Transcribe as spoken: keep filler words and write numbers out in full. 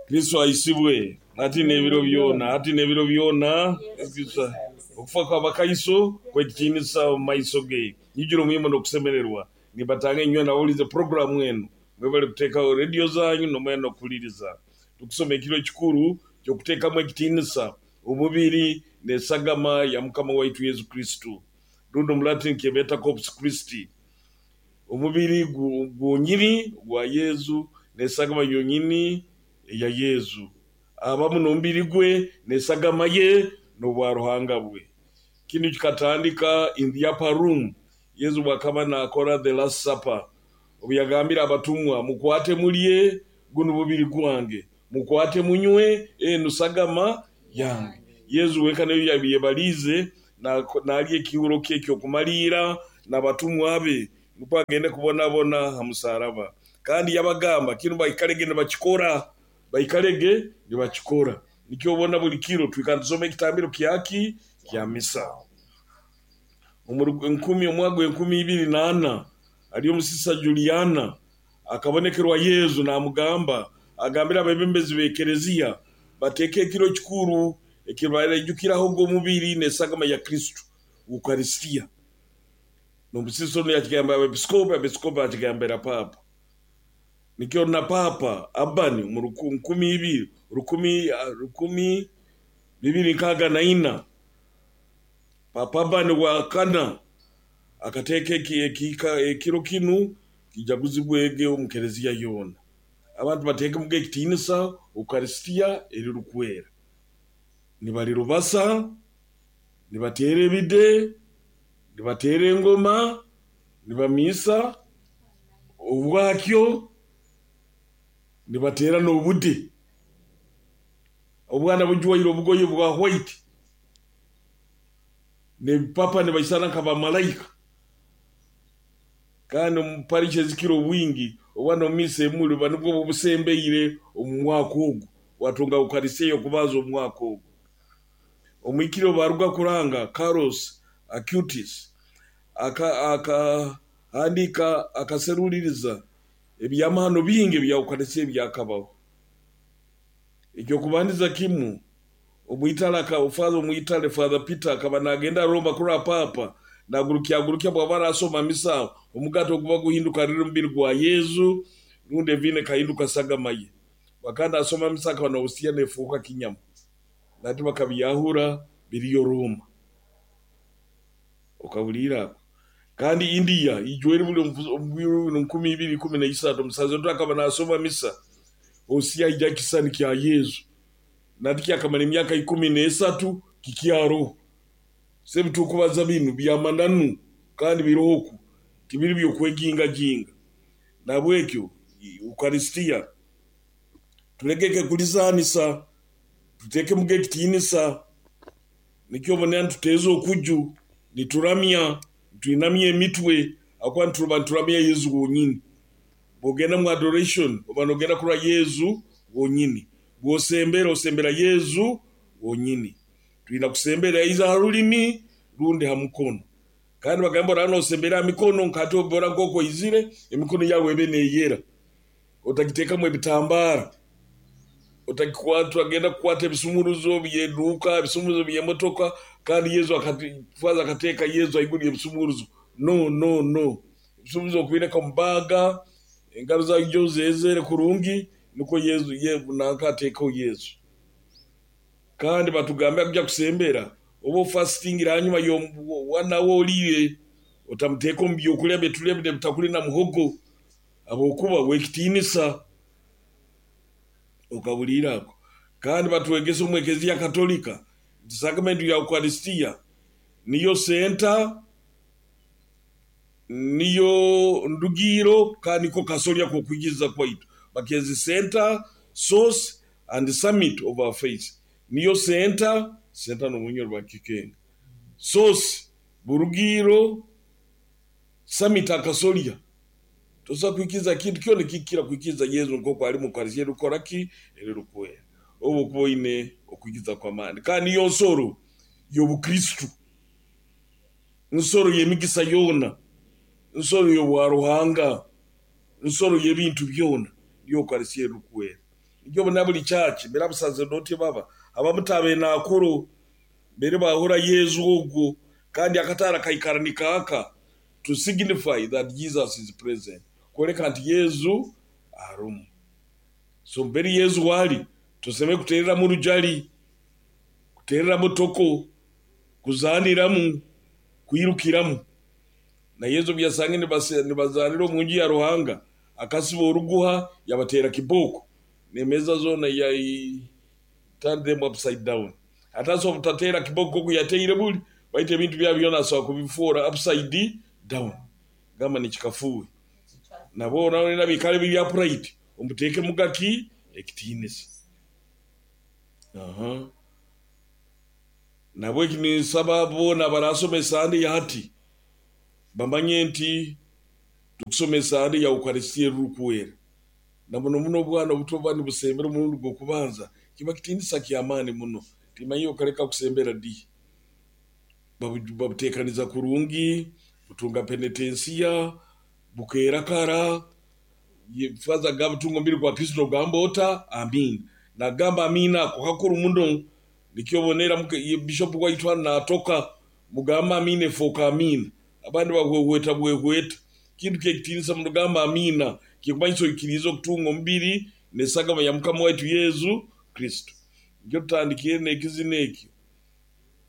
Kristo aisibwe hati n'ebiro byona, hati n'ebiro byona. Kristo okufa kw'abakaiso kwekitiinisa omu maiso ge. Nyijura omwimo n'okusemererwa nimbatanga inywe nabawulize puroguramu enu, mwebale kuteekaho rediyo zanyu nomwena n'okuhuliriza. Tukusoma ekiro ekikuru ky'okuteekamu ekitiinisa omubiri n'esagama ya Mukama waitu Yesu Kristo, rundi omu Latin kyebeeta Corpus Christi. Omubiri gwonyini gwa Yesu n'esagama yonyini eya Yesu, abamu n'omubiri gwe n'esagama ye n'obwaruhanga bwe. Kinu kikatandika in the upper room, Yesu bwakaba naakora the last supper, obu yagambire abatumwa, mukwate mulye, gunu mubiri gwange, mukwate munywe, enu sagama yange. Yesu wenka niyo yabaliize naalya ekiihuro kye eky'okumaliira n'abatumwa be, nukwo agende kubonabona ha musaraba. Kandi yabagamba kinu baikalege nibakikora, baikalege nibakikora. Nikyo obona buli kiro twikara nitusoma ekitambiro kyaki? Kya misa. Omu nkumi omwaka gw'enkumi ibiri n'ana haliyo omusisa Juliana akabonekerwa Yesu naamugamba, agambire abeebembezi b'ekereziya bateeke ekiro ekikuru eki baraijukirahoga omubiri n'esagama ya Kristo, Ukaristia. N'omusisa onu yakigambira abeepiskopi, abeepiskopi bakigambira Paapa. Nikyo na Paapa Abani omu nkumi ibiri rukumi rukumi bibiri nkaaga na ina, Paapa Abani wa kana akateeka ekiro kinu kijaguzibwege omu kereziya yoona. Abantu bateekemuga ekitiinisa Ukaristia erirukwera. Nibalirubasa, nibateera ebide, nibateera engoma, nibamiisa obwakyo, nibateera n'obude. Obwana bujwaire obugoye bwa white n'ebipapa nibaisana nk'abamalaika. Kandi omu parish ezikira obwingi obwana omu misa emuli buba nubwo busembeire omu mwaka ogu, watunga Ukaristia ey'okubanza omu mwaka ogu. Omwikire obu baruga kuranga Carlos Acutis akahandiika akaseruliiriza ebyamahano bingi ebya Ukaristia ebyakabaho. Eky'okubandiza kimu, Omwitale Father Omwitale Father Peter akaba naagenda Roma kurora Paapa, naagurukya bw'aba arasoma misa, omugaati oguba guhinduka riri mubiri gwa Yesu, rundi eviini ekahinduka sagama ye. Bwakaba naasoma misa akaba n'obusiya neefuuka kinyama. Nati bakabyahura biriyo Roma. Okahuliire ako? Kandi India ijwaire buli omu biro nkumi ibiri ikumi na isatu, omusaseredooti akaba naasoma misa, osiya haija ekisisani kya Yesu. Nati kyakamara emyaka ikumi n'esatu kikyaroho. Sebi tukubaza binu by'amananu kandi biroho oku, tibiri by'okwejingajinga. Nahabwekyo Ukaristia tulegeke kulizaanisa, tuteekemuga ekitiinisa. Nikyo obona nituteeza okuju, nituramya, nitwinamya emitwe habwokuba nituba nituramya Yesu wonyini. Bw'ogenda mu adoration oba noogenda kurora Yesu wonyini. Bw'osembera osembera Yesu wonyini. Twina kusembera either ha rulimi rundi ha mukono. Kandi bagamba oraaba noosembera ha mikono nk'hati obu nk'oku oizire, emikono yaawe ebe neeyera. Otagiteekamu ebitambaara, otagenda kukwata ebisumuruzo by'eduuka, ebisumuruzo by'emotoka, kandi Yesu Father akateeka Yesu haiguru y'ebisumuruzo. No, no, no. Ebisumuruzo okubireka omu baaga, engaro zaawe ije ozeezere kurungi, nukwo Yesu nanka ateekeho Yesu. Kandi batugambira kujya kusembera, oba ofastingire hanyuma y'one hour oliire, otamuteeka omu byokulya byetulya binu ebitakuli na muhogo, habwokuba w'ekitiinisa. Okahuliire ako? Kandi batwegesa omu Ekereziya Katolika nti sakramenti ya Ukaristia niyo center, niyo ndugiiro kandi niko kasolya k'okwikiriza kwaitu. Bakyezi center, source and summit of our faith. Niyo center, center n'omunyoro bakikenga. Source, burugiiro, summit akasolya. Tosobola kwikiriza kintu kyona ekikukira kwikiriza Yesu nk'oku ali mu Ukaristia erikukora ki? Erirukwera. Obu okuba oine okwikiriza kw'amaani. Kandi niyo nsoro y'obukristo, nsoro y'emigisa yoona, nsoro y'obwaruhanga, nsoro y'ebintu byona, niyo Ukaristia erirukwera. Nikyo obona buli church mbere abasacerdote baba abamu tabernakulo mbere bahura Yezu ogwo, kandi akataara kaikara nikaaka to signify that Jesus is present, kwoleka nti Yezu arumu. So mbere Yezu wali tuseme kutereramu rujali, kutereramu toko, kuzaniramu, kwirukiramu. Na Yezu byasange nibazanira omunju ya Ruhanga, akasiba oruguha yabatera kiboko nemeza zona ya turn them upside down. Atasobola butatera kiboko oku yateire buli, baitu ebintu byabo byona asobola kubifuura upside down. Gamba nikikafuuwe. Nabo nabo bikale biri upright, omuteekemu gaki ekitiinisa. Aha. Nabwo ninsaba boona abarasoma esande ya hati bamanye nti tukusoma esande ya Ukaristia erukwera. Na muno muno obwana obuto buba nibusembera omurundi gw'okubanza kiba kitiinisa ky'amaani muno, timanya okaleka kusembera di. Babuteekaniza kurungi, butunga penetensiya, bukeera kara, faza agamba tunga omubiri gwa Kristo nogamba ota amiina. Nagamba amiina ako kakuru muno, nikyo obonera bishop waitu hanu naatoka mugamba amiina efooka amiina. Abandi bahwehweta bwehweta. Kintu ky'ekitiinisa muno gamba amiina kikumanyisa oikiriize okutunga omubiri n'esagama ya Mukama waitu Yesu Kristo. Nikyo tutandikire n'ekizina ekyo.